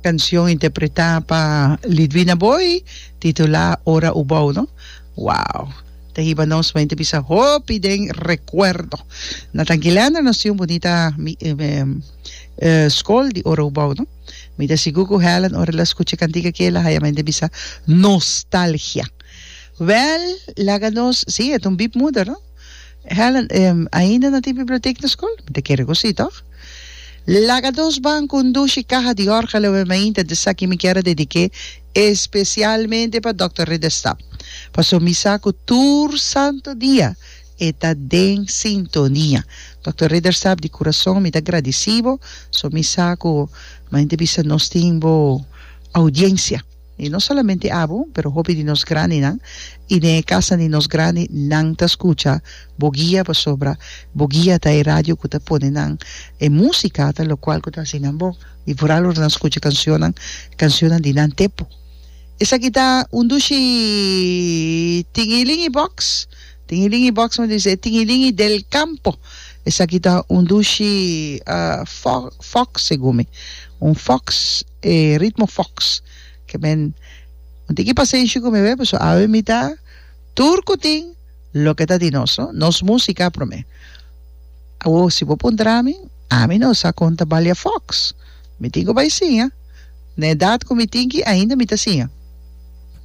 Cancion interpreta pa Lidwina Booi titula Ora Ubou no. Wow! Ta hiba nos mente bisa hopi den recuerdo. Na Tanquilanda nos tin un bunita scol di Ora Ubou no. Mi ta sigur cu Helen ora el a scucha e cantica aki el a haya mente bisa nostalgia. Wel laga nos, si e ta un biepmoeder no. Helen, ainda no tin bibliotek na skol? Mi ta kere ku si, tòg? Laga dos ban ku un dushi kaha di òrgel awe mainta di esaki mi kier a dedik'é espesialmente pa Dòkter Ridderstap, pasobra mi sa ku tur santu dia e ta den sintonia. Dòkter Ridderstap, di kurason mi ta gradisí bo, so mi sa ku mainta bisa nos tin bo oudiensia. I no solamente abo, pero hopi di nos grandinan, i den e kasnan di nos grandi, nan ta skucha bo guia pasobra bo guia ta e radio ku ta pone nan e músika ta lokual ku ta hasi nan bon. I vooral ora nan skucha kanshonnan, kanshonnan di nan tempu. Esaki ta un dushi Tingilingi Box, Tingilingi Box, mi ta bisa e Tingilingi del Campo. Esaki ta un dushi fox segun mi, un fox. E ritmo fox ke men un tiki pasenshi ku mi be paso awe mi ta tur ku tin loke ta di nos no nos musika prome awo si bo puntra mi ami no sa kon ta balia fox mi tin ku bai siña na edat ku mi tin ki ainda mi ta siña.